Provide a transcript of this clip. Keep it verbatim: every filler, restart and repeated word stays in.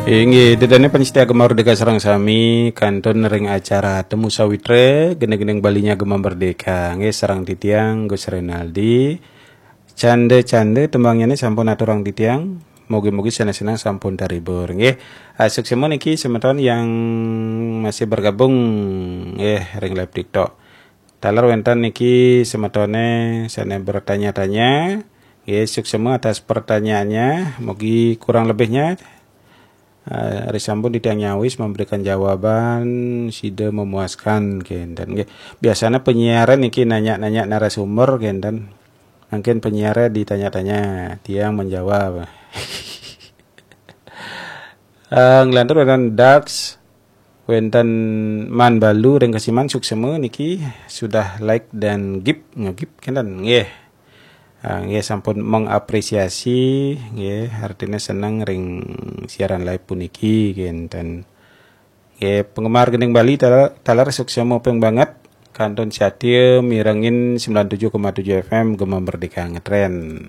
Inggih, ida dané pamiarsa Gema Merdeka sareng sami, kantun ring acara Temu Sawitra, gending-gending Baliné Gema Merdeka. Nggih, sareng titiang Gus Renaldi. Canda-canda tembangnyané sampun aturang titiang. Mugi-mugi sané seneng sampun terhibur. Nggih, ah, suksma niki semeton yang masih bergabung, nggih, ring live TikTok. Taler wénten niki semetoné sané bertanya-tanya. Nggih, suksma atas pertanyaannya. Mugi kurang lebihnya, eh, ri sampun titiang nyawis memberikan jawaban sida memuaskan, kénten. Nggih. Biasanya penyiar niki nanya-nanya narasumber, kénten. Mungkin penyiar ditanya-tanya, tiang menjawab. Eh, nglantur wénten Dax, wénten Man Balu ring Kesiman, suksma niki sudah like dan gip, ngegip, kénten. Nggih. Ah, nggih, sampun mengapresiasi, nggih, artinya seneng ring siaran live puniki, kénten. Nggih, penggemar Gending Bali, taler, taler suksma ping banget, kantun satia mirengin sembilan tujuh koma tujuh F M Gema Merdeka Ngetren.